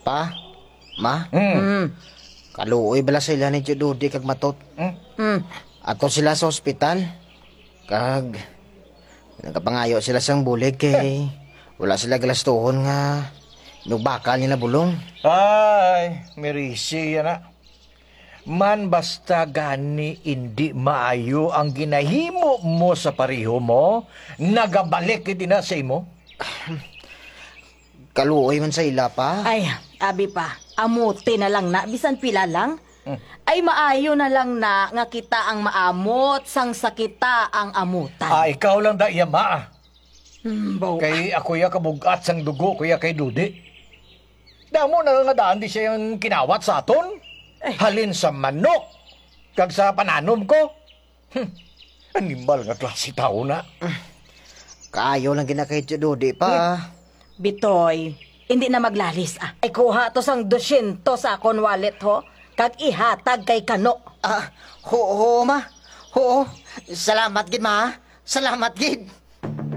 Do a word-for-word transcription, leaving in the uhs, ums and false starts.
Pa, ma, Hmm. Mm. Kaluoy bala sila ni Tio Dodi kag Matot. Hmm. Mm. Ato sila sa ospital. Kag nagapangayo sila sang bulig kay wala sila galastuhon nga inugbakal nila bulong. Ay, merisi yana. Man basta gani indi maayo ang ginahimo mo sa pareho mo, nagabalik gid na sa imo. Kaluoy man sa ila, pa. Ay, abi pa, amuti na lang na, bisan pila lang. Hmm. Ay, maayo na lang na nga kita ang maamot sang sa kita ang amutan. Ah, ikaw lang da iya, ma. Hmm, baw- Kay ako ya kabug-at sang dugo ko ya kay Dudi. Damo na nga daan di siya ang kinawat sa aton. Ay. Halin sa manok, kag sa pananom ko. Hmm. Animal nga klase tawo na. Kaayo lang gina kay Tio Dodi pa. Hmm. Bitoy, hindi na maglalis, ah. Ay, kuha to sang dosyentos sa akon wallet, ho. Kag ihatag kay Kano. Ah, ho, ho, ma. Ho, salamat gid, ma. Salamat gid.